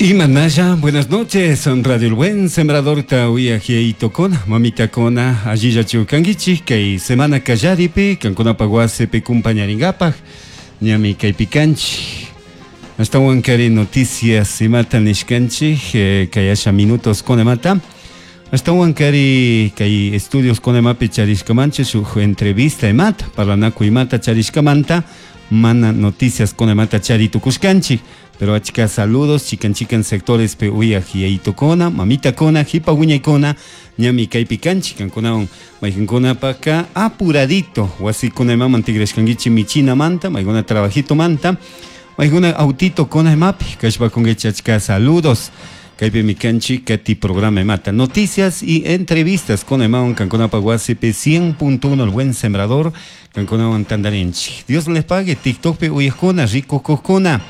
Imanaya, buenas noches, Radio El Buen Sembrador Tahuiajiaitokona, mamitakona, allillachu kankichik, kay semana kallaripi, kankunapaq wasipi kumpañarinkapak, ñami kaypi kanchik. Ashtawan kari noticias imata nishkanchik, kay asha minutos kunamanta. Ashtawan kari kay estudios kunamapi charishkamanchik shuk entrevista imata, parlanakuy imata charishkamanta, mana noticias kunamanta chari tukushkanchik. Pero achka saludos chikan chikan sectores pe uyaj yayitukuna, mamitakuna, jipa wiñaykuna, ñami kaypi kanchik kankunawan mayqinkunapaka apuradito wasikuna imaman tigrashkankichik michinamanta, maykuna trabajitomanta, maykuna autito kuna imapi kashpakunkichik achka saludos. Kaypimi kanchik kati programa imata noticias y entrevistas kuna imawan kankunapaq wasipi 100.1 El Buen Sembrador kankunawan tantarinchik. Dios les pague TikTokpi uyajkuna, rikukuqkuna.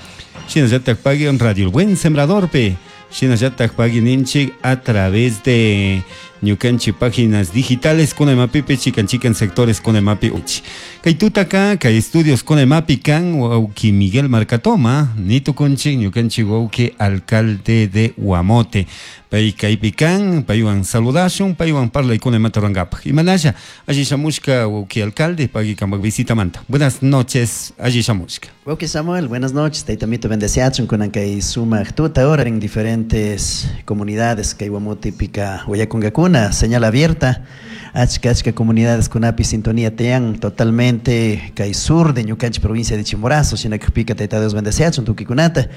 Shinallatak pagui en Radio El Buen Sembradorpi. Shinallatak pagui ninchik a través de ñukanchik páginas digitales kuna imapipi chikan chikan sectores kuna imapi uchi. Kay tutaka kay estudios kuna imapi kan wawki Miguel Marcatoma nitukunchik ñukanchik wawki alcalde de Guamote. Pay kaypi kan, paywan saludashun, paywan parlaykuna imata rurankapak. Imanasha, alli shamushka wawki alcalde, pagui kanpak visitamanta. Buenas noches, alli shamushka. Wawki Samuel, buenas noches. Taytamito bendeciachun kunan kay sumak tuta ahora en diferentes comunidades kay Guamotepika uyakungakuna, señal abierta. Achka achka comunidades kunapi sintonía tiyan totalmente kay sur de ñukanchik provincia de Chimborazo, shinakpika Tayta Dios bendeciachun tukikunata.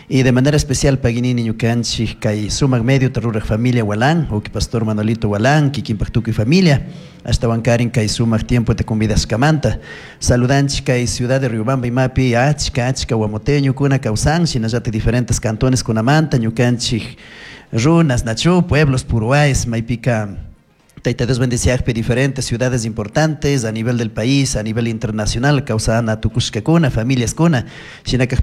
Y de manera especial paginini ñukanchik kay sumak medio ruraj familia Walán, uki pastor Manolito Walán, kikinpak tukuy familia, ashtawan karin kay sumak tiempo te convidashkamanta. Saludanchik kay ciudad de Riobamba imapi achka achka guamoteñokuna kawsan, shinallatik diferentes cantones kunamanta ñukanchik runas, nachu, pueblos, puruáes, maypika Tayta Dios bendeciakpi diferentes ciudades importantes a nivel del país, a nivel internacional, kawsana tukushkakuna, familias kuna, shinaka.